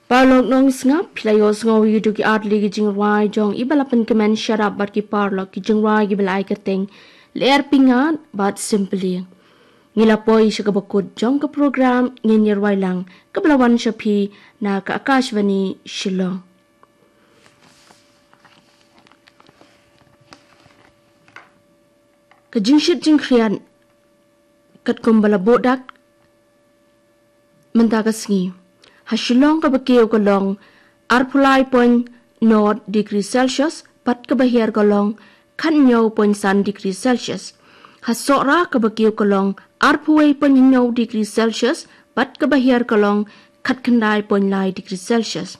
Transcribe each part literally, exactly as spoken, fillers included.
Paralok nongsngap, phi la ïohsngew ïa ki artylli ki jingrwai jong i ba la pynkmen sharap bad ki paralok, ki jingrwai ki ba la ai kyrteng Lyer Pyngngad bad Symphony. Ngi la poi sha kaba kut jong ka program, ngin ïa rwai lang kaba la wan sha phi na ka Akashvani Shillong. Ka jingshit jingkhriat katkum ba la buh dak mynta ka sngi. Ha Shillong kaba kiew ka long arphew lai point nod degree Celsius, bad kaba hiar ka long khathynñiew point san degree Celsius. Ha Sohra kaba kiew ka long arphew wei point hynñiew degree Celsius, bad kaba hiar ka long khatkhyndai point lai degree Celsius.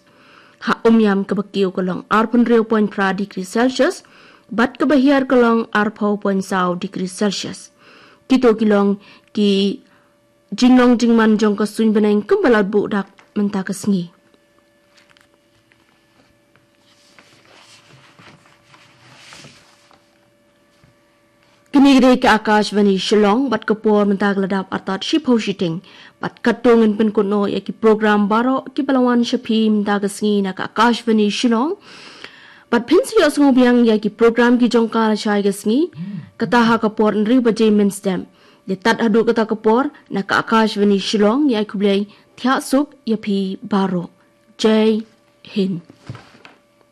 Ha Umiam kaba kiew ka long arphew hynriew point phra degree Celsius, bad kaba hiar ka long arphew point saw degree Celsius. Kito ki long ki jinglong jingman jong ka suiñ bneng kumba la buh dak mynta ka sngi. Kine ki dei ka Akashvani Shillong, bad ka por mynta ka la dap artat shiphew shiteng. Bad katto ngin pynkut noh ïa ki program baroh ki ba la wan sha phi mynta ka sngi na ka Akashvani Shillong. Bad phin sa ïohsngew biang ïa ki program ki jong ka lashai ka sngi, kata ha ka por hynriew baje mynstep. Ïa tad haduh kata ka por, na ka Akashvani Shillong, ïa khublei, thiah suk ïa phi baroh. Jai Hind.